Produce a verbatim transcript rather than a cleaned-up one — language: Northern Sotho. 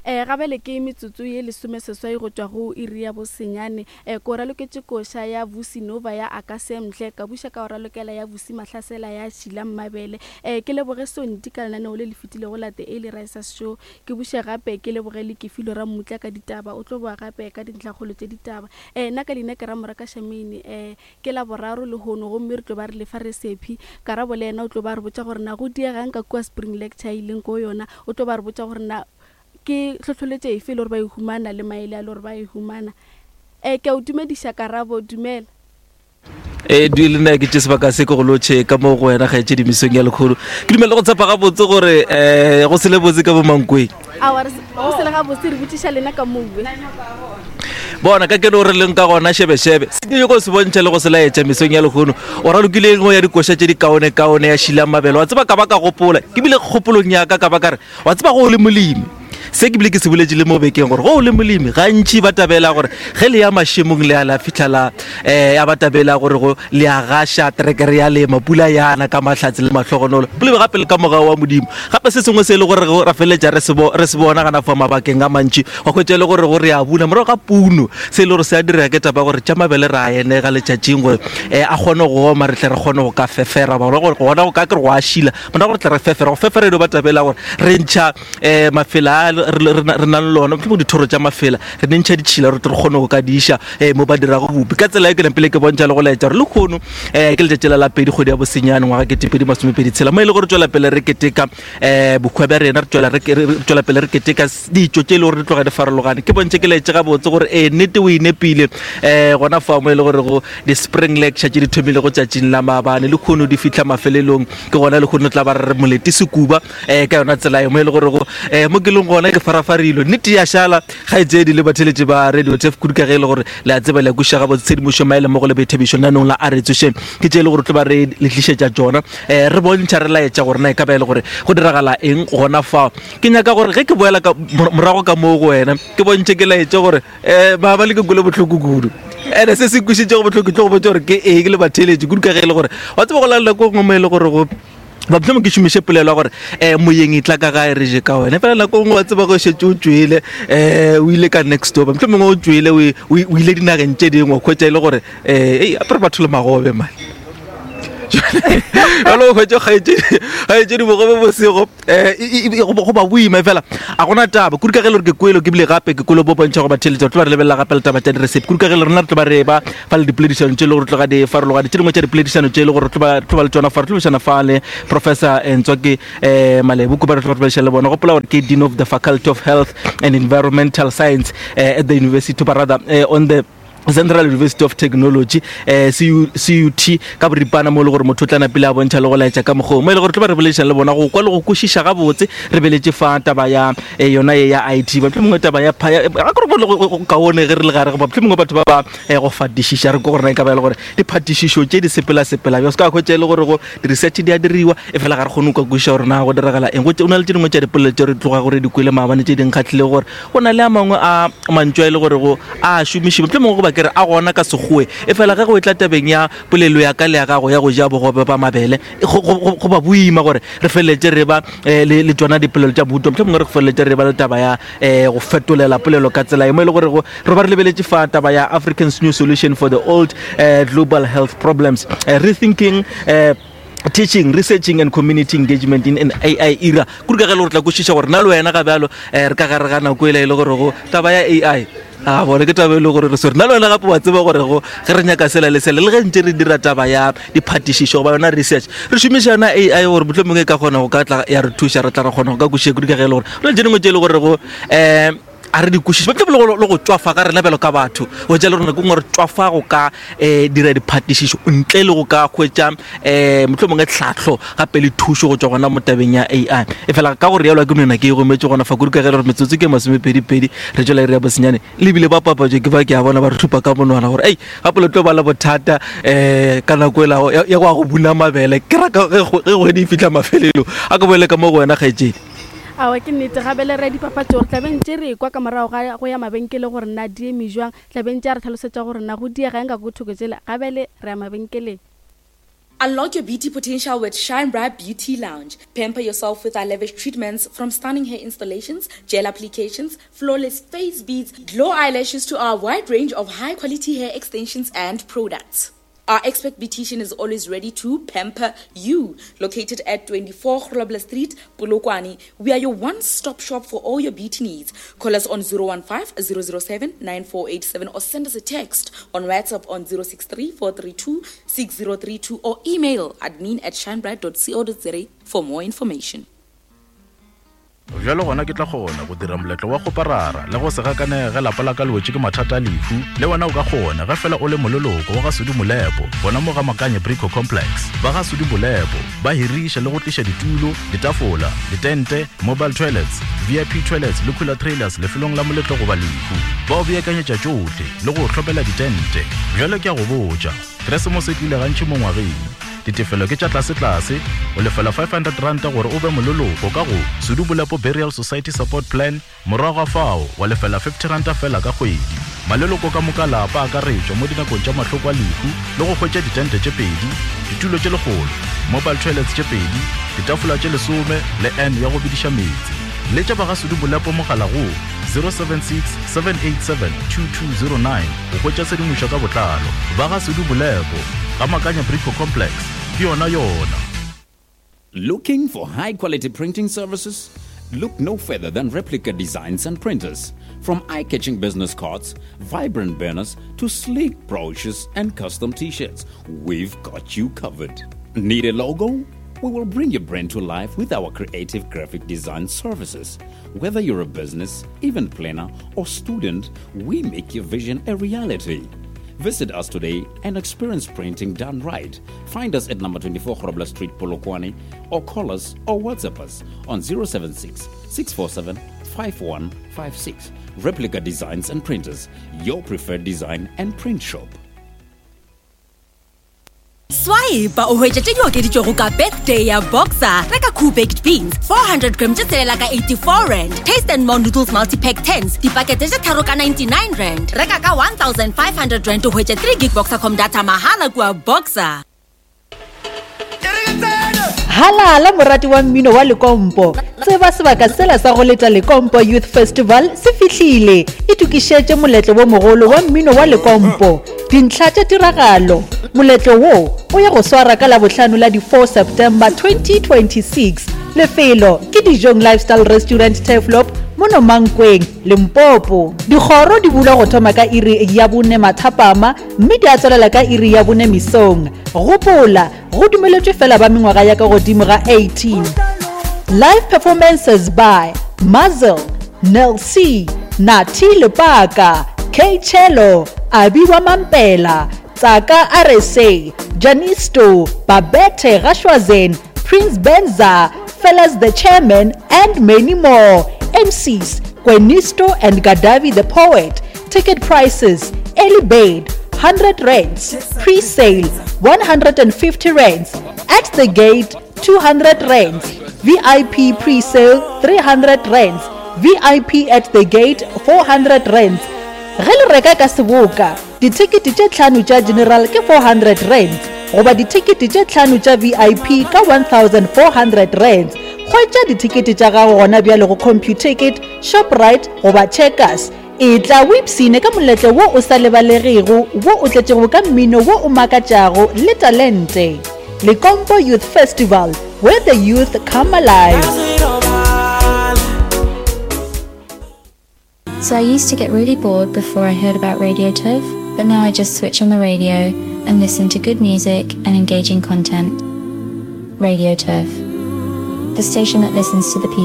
Um gabele ke metsotso ye lesomeseswai go tšwa go iri ya bosenyane. Um ko raloketše koša ya Vusi Nova ya Akasemhle, ka buša ka o ralokela ya Vusi Mahlasela ya Šila Mmabele. Um ke leboge Sonti ka lenaneo le le fetilego la The Early Risers Show. Ke buše gape ke leboge le Kefilo Rammutla ka ditaba, o tlo boa gape ka dintlhakgolo tše ditaba. Um nna ka leina ke Ramoraka Shamini. Um ke Laboraro lehono gomme re tlo ba re lefa resephi. Karabo le yena o tlo ba re botša gore na go diegang ka kua Spring Lecture e leng ko yona. O tlo ba re botša gore na ke hlohloletše efe e le gore ba e humana le maele a le gore ba e humana. Um ke a o dumediša Karabo, dumela. E di le nna ke tše sebaka se ke go lotšhe ka mo go wena kgaetšedi mesong ya lekgolo. Ke dumela go tshepa gabotse gore um go sele botse ka bo Mankweng. Aowa, re se- go sele gabotse, re botšiša lena ka moue. Bona ka keno re leng ka gona šebešebe se ke nyako se bontšha le go se laetša mesong ya lehono. O ralokile engwe ya dikoša tše di kaone-kaone ya Šila Mabele. Wa tseba ka ba ka gopola, ke bile kgopolong ya ka ka ba ka re, wa tseba go o le molemi, se ke bile ke se boletše le mo bekeng gore go o le molemi gantši ba tabela gore ge le ya mašemong le ya la fitlha la um ya ba tabela gore go le a gaša terekere ya lema, pula yana ka mahlatse le mahlogonolo, pula gape le ka mogao wa Modimo. Gape se sengwe se e le gore ra feleletša re se bo- re se bona gana fa mabakeng a mantši, wa hwetša e le gore go re a buna morago ga puno, se e le gore se a direga ke taba gore tša mabele re a enega letšatšing gore um a kgone go oma, re tle re kgone go ka fefera gore gona go ka kere go a šila morago re tle re fefera. Go fefera e no ba tabela gore re ntšha um mafela a re re re nang le ona, mohlomong dithoro tša mafela re ne ntšha ditšhila re tle re kgone go ka diša um mo ba dirago bupi. Ka tsela e ke napile ke bontšha le go laetša gore lehono um ke letšatši la la pedi kgwedi ya bosenyane ngwaga ketepedi masomepedi tshela, mo e le gore tswela pele re keteka um bohwa bja rena, re tswela re re- re tswela pele re keteka ditšo tše e le gore di tloga di farologane. Ke bontšhe ke laetše gabotse gore ee nnete o e nepile um gona fa mo e le gore go di-spring lecture tše di thomile go tšatšing la maabane le kgono di fitlha mafelelong, ke gona le kgono tla ba re re molete sekuba um ka yona tsela e mo e le gore go um mo ke leng gona ke farafarilwe nnete ya šala kgaetšedi le batheletši ba Radio Turf kudu ka ge e le gore le a tseba le a kwešiša gabotse tshedimošo maele mo go le boithabišo lenaneng la a re tsošeng ke tše e le gore tlo ba re le tlišetša tšona um re bontšha re laetša gore na e ka ba e le gore go diragala eng gona fao. Ke nyaka gore ge ke boela ka morago ka moo go wena ke bontšhe ke laetše gore um maabane ke kwele bohloko kudu, ene se se kwišitšego bohloko ke tlo go botša gore ke eng le batheletši kudu ka ge e le gore wa tseba go la nako nngwe mo e le gore go ba mohlomong ke šomiše polelo ya gore um moyeng e tla ka gae re je ka wena, fela nako nngwe wa tseba go šetše o tšwele um o ile ka next door, mohlomongwe o tšwele o o ile dinageng tše dingwe wa hwetša e le gore um ei apere batho le magobe mane jalo o hwetše kgaetšedi bogobe bosego um go ba boima fela a gona taba kudu ka ge le gore ke kwelo ke bile gape ke kwelo bo bontšha go batheletša re tlo ba re lebelela gape le taba tša diresepi kudu ka ge le rena re tlo ba re ba fa le dipoledišano tše e le gore tloga di farologane tše dingwe tša dipoledišano tše e le gore tlo ba tlo ba le tšona fa re tlo bešana fa le Professor Ntswaki um Malebo ba re tlo ba re le bona. Gopola gore ke Dean of the Faculty of Health and Environmental Science uh, at the University but rather uh, on the Central University of Technology eh C U T ka boripana mo e le gore motho o tla napile a bontšha le go laetša ka mokgwa mo e le gore tlo ba re boledišana le bona go kwa le go kwešiša gabotse re beletše fa taba ya eh, yona ye ya I T mohlomongwe taba ya ga ke re go kaone ge re le gare goba mohlomongwe batho ba ba eh, go fatišiša re ko gore na e ka ba e le gore diphatišišo tše di sepela-sepela bjang se ka hwetša e le gore go di-research di a diriwa e fela ga re kgone go ka kwešiša gore na go diragala eng. Go o na le tše dingwe tša dipolelo tše re tloga gore di kwele maabane tše di nkgatlhile gore go na le a mangwe a mantšu a e le gore go a šomišiwa mohlomongwe goba ke re a gona ka sekgowe e fela ge go e tla tabeng ya polelo ya ka le ya gago ya go ja bogobe ba mabele go ba boima gore re feleletše re ba le le tšona dipolelo tša mohuta mohlomongwe re feleletše re ba le taba ya um go fetolela polelo ka tsela e mo e le gore go re ba re lebeletše fa taba ya African's new solution for the old uh, global health problems, uh, rethinking uh, teaching, researching and community engagement in an A I era. Kudu ka ge le gore tla kwešiša gore na le wena ga bjalo um re ka gare ga nako ela e le gore go taba ya A I a bone ke taba e le gore re swere na le wena gape wa tseba gore go ge re nyaka sela le sela le ge ntse re dira taba ya diphatišišo goba yona research re šomiša yona A I gore mohlomongwe e ka kgona go ka tla ya re thuša re tla re kgona go ka kwešiša kudu ka ge e le gore go na le tše dingwe tše e le gore go um a re di kwešiše mohlomongwe le go tšwafa ga rena bjalo ka batho go tša le rona ke ngwe re tšwafa go ka um dira diphatišišo ntle le go ka hwetša um mohlomongwe tlhahlo gape le thušo go tšwa gona mo tabeng ya A I. E fela ka gore yalo ke nona ke e rometše gona fa kudu ka ge le gore metsotso ke masomepedi-pedi re tšwela iri ya bosenyane le bile ba papatšo ke ba ke a bona ba re thupa ka monwana gore ei gape le tlo ba le bothata um ka nako ela ya go ya go buna mabele ke raka ge kgwedi e fihla mafelelong a ke boele ka mo go wena kgaetšedi. Aowa ke nnete gabele re dipapatšo gore tla ntše re kwa ka morago ga go ya mabenkele gore na di eme jwang, tla ntše a re tlhalosetša gore na go diega eng ka go thoko tšela gabele re ya mabenkeleng. Unlock your beauty potential with Shine Bright Beauty Lounge. Pamper yourself with our lavish treatments from stunning hair installations, gel applications, flawless face beads, glow eyelashes to our wide range of high quality hair extensions and products. Our expert beautician is always ready to pamper you. Located at twenty-four Grobler Street, Polokwane, we are your one-stop shop for all your beauty needs. Call us on zero one five, zero zero seven, nine four eight seven or send us a text on WhatsApp on zero six three, four three two, six zero three two or email admin at shinebright dot co dot za for more information. Bjalo gona ke tla kgona go dira moletlo wa go parara le go se gakanege ge lapa la ka le wetše ke mathata a lehu. Le wena o ka kgona ge fela o le moleloko wa ga Sudi Molepo, gona mo ga Makanye Brico Complex. Ba ga Sudi Molepo ba hiriša le go tliša ditulo, ditafola, ditente, mobile toilets, V I P toilets le cooler trailers lefelong la moletlo goba lehu. Ba o beakanyetša tšohle le go hlopela ditente. Bjalo ke a go botša, Keresemose e tlile gantši mo ngwageng. Ditefelo ke tša tlase-tlase, o lefela five hundred rand gore o be moleloko ka go Sudi Molepo Burial Society Support Plan, morago ga fao wa lefela fifty rand fela ka kgwedi. Maleloko ka moka lapa a akaretšwa mo dinakong tša mahloko a lehu le go hwetša ditente tše pedi, ditulo tše lekgolo, mobile toilets tše pedi, ditafola tše lesome le N ya go bediša meetse. Letša ba ga Sudi Molepo mogala go zero seven six, seven eight seven, two two zero nine go hwetša tshedimošo ka botlalo. Ba ga Sudi Molepo, ga Makanya Brico Complex, ke yona yona. Looking for high quality printing services? Look no further than Replica Designs and Printers. From eye-catching business cards, vibrant banners, to sleek brochures and custom t-shirts, we've got you covered. Need a logo? We will bring your brand to life with our creative graphic design services. Whether you're a business, event planner, or student, we make your vision a reality. Visit us today and experience printing done right. Find us at number twenty-four Grobler Street, Polokwane, or call us or WhatsApp us on zero seven six, six four seven, five one five six. Replica Designs and Printers, your preferred design and print shop. Swipe o hwetša tše di okeditšwego ka birthday ya Boxer. Reka Cool Baked Beans four hundred gram tše tshelela ka eighty-four rand. Taste and More Noodles multi-pack tens dipakete tše tharo ka ninety-nine rand. Reka ka one thousand five hundred rand o hwetše three gig Boxercom data mahala kua Boxer. Halala morati wa mmino wa Lekompo. Tseba sebaka sela sa go leta Lekompo Youth Festival se fihlile. Itokišetše moletlo wo mogolo wa mmino wa Lekompo. Dintlha tša tiragalo. Moletlo wo o ya go swara ka Labohlano la di four September twenty twenty-six. Lefelo ke Dijong Lifestyle Restaurant Turfloop mono Mankweng, Limpopo. Dikgoro di bulwa go thoma ka iri ya bone mathapama mme di a tswelela ka iri ya bone mesong. Gopola, go dumeletšwe fela ba mengwaga ya ka godimo ga eighteen. Live performances by Mazel, Nel C, Nati Lepaka, K Chelo, Abiwa Mampela, Tsaka R S A, Janisto, Babette Rashwazen, Prince Benza, Fellas the Chairman, and many more. M Cs, Gwenisto and Gadavi the Poet. Ticket prices, early bird, hundred rands, pre-sale, one hundred and fifty rands, at the gate, two hundred rands, V I P pre-sale, three hundred rands, V I P at the gate, four hundred rands. Ge le reka ka seboka, dithekete tše tlhano tša general ke four hundred rands, goba dithekete tše tlhano tša V I P ka one thousand four hundred rands. Hwetša dithekete tša gago gona bjale go Computicket, Shoprite goba Checkers. E tla o ipshine ka moletlo wo o sa lebalegego, wo o tletšego ka mmino wo o makatšago le talente. Lekompo Youth Festival, where the youth come alive. So I used to get really bored before I heard about Radio Turf, but now I just switch on the radio and listen to good music and engaging content. Radio Turf, the station that listens to the people.